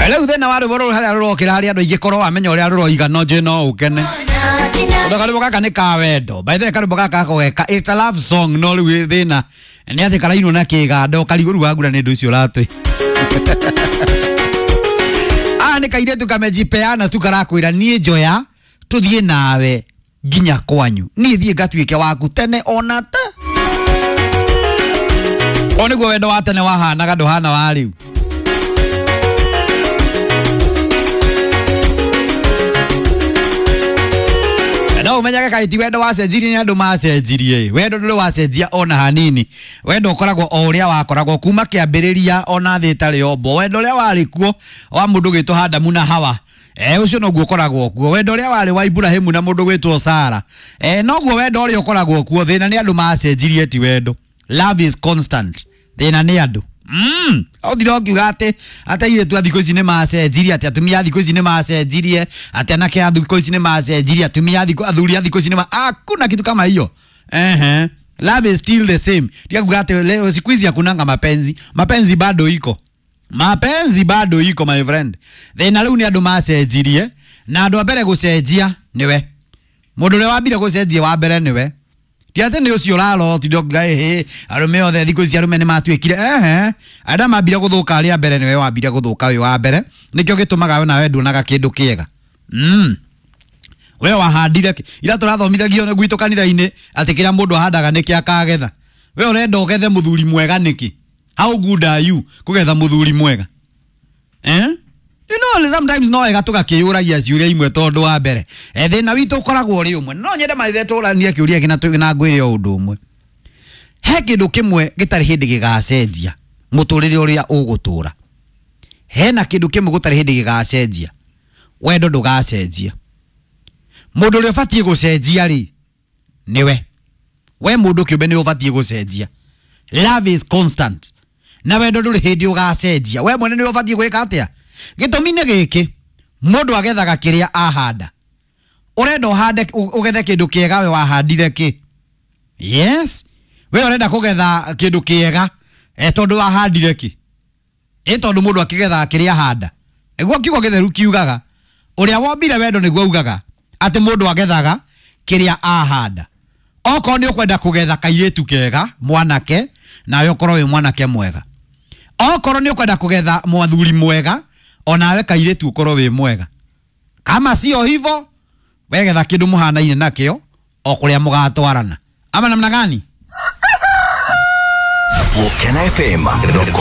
Rĩu thĩna wa rwĩmbo rũrũ harĩa rũrokĩra harĩa andũ aingĩ korwo wamenya ũrĩa rũroiga no njĩ no ũkene. Tondũ karwĩmbo gaka nĩ ka wendo. By the way, karwĩmbo gaka gakogeka it's a love song, no rĩu thĩna nĩ atĩ karainwo na kĩganda ũkarigwo rĩu wagura nĩ ũndũ ũcio ũratwĩ. Aya nĩ kairĩtu kamejipeana tu karakwĩra niĩ njoya tũthiĩ nawe nginya kwanyu, niĩ thiĩ ngatuĩke waku tene ona ta o nĩguo wendo wa tene wahanaga ndũhana wa rĩu. No umenyage kaĩ ti wendo wacenjirie nĩ andũ macenjirie. Wendo ndũrĩ wacenjia ona hanini. Wendo ũkoragwo o ũrĩa wakoragwo kuma kĩambĩrĩria ona thĩ ĩtarĩ yombwo. Wendo ũrĩa warĩ kuo wa mũndũ gwĩtwo Adamu na Hawa, ũcio noguo ũkoragwo kuo. Wendo ũrĩa warĩ wa Ibrahimu na mũndũ gwĩtwo Sara, noguo wendo ũrĩa ũkoragwo kuo. Thĩna nĩ andũ macenjirie, ti wendo. Love is constant. Thĩna nĩ andũ. Ũthire ũkiuga atĩ airĩtu a thikũ ici nĩ macenjirie, atĩ atumia a thikũ ici nĩ macenjirie, atĩ anake a thikũ ici nĩ macenjirie, atumia a thikũ, athuri a thikũ ici nĩ ma, hakuna kitu kama hiyo. Ehe. Love is still the same. Ndio kuga atĩ leo siku hizi hakunanga mapenzi. Mapenzi bado iko. Mapenzi bado iko, my friend. Thĩna rĩu nĩ andũ macenjirie, na andũ a mbere gũcenjia nĩwe. Mũndũ ũrĩa wambire gũcenjia wa mbere nĩwe. Ti atĩ nĩ ũcio ũraroti ndonga ĩhĩ arũme othe thikũ ici arũme nĩ matuĩkire. Ehe, arĩa mambire gũthũka arĩa mbere nĩwe wambire gũthũka wĩ wa mbere, nĩkĩo gĩtũmaga we nawe nduonaga kĩndũ kĩega. We wahandire kĩ? Ira tũrathomithagio nĩ gwitũ kanitha-inĩ atĩ kĩrĩa mũndũ ahandaga nĩkĩo akagetha. We ũrenda ũgethe mũthuri mwega nĩkĩ? How good are you kũgetha mũthuri mwega? You know, sometimes no wega tũgakĩyũragia ciũria imwe tondũ wa mbere thĩna witũ ũkoragwo ũrĩ ũmwe. No nyende maithe tũranie kĩũria gĩkĩ na ngwĩre o ũndũ ũmwe. He kĩndũ kĩmwe gĩtarĩ hĩndĩ gĩgacenjia mũtũrĩre ũrĩa ũgũtũra. Hena kĩndũ kĩmwe gũtarĩ hĩndĩ gĩgacenjia. Wendo ndũgacenjia. Mũndũ ũrĩa ũbatiĩ gũcenjia rĩ nĩwe. We mũndũ kĩũmbe nĩ ũbatiĩ gũcenjia. Love is constant. Na wendo ndũrĩ hĩndĩ ũgacenjia. We mwene nĩwe ũbatiĩ gwĩka atĩa? Gĩtũmi nĩ gĩkĩ, mũndũ agethaga kĩrĩa ahanda. Ũrenda ũhande ũgethe kĩndũ kĩega, we wahandire kĩ? Yes. We ũrenda kũgetha kĩndũ kĩega, tondũ wahandire kĩ? Tondũ mũndũ akĩgethaga kĩrĩa ahanda. Nĩguo kiugo gĩtheru kiugaga, ũrĩa wombire wendo nĩguo augaga atĩ mũndũ agethaga kĩrĩa ahanda. Okorwo nĩ ũkwenda kũgetha kairĩtu kega mwanake, nawe ũkorwo wĩ mwanake mwega. Okorwo nĩ ũkwenda kũgetha mwathuri mwega, onawe kairĩtu ũkorwo wĩ mwega. Kama sio hivyo, wegetha kĩndũ mũhanaine nakĩo o kũrĩa mũgatwarana. Ama namna gani? Volcano FM, the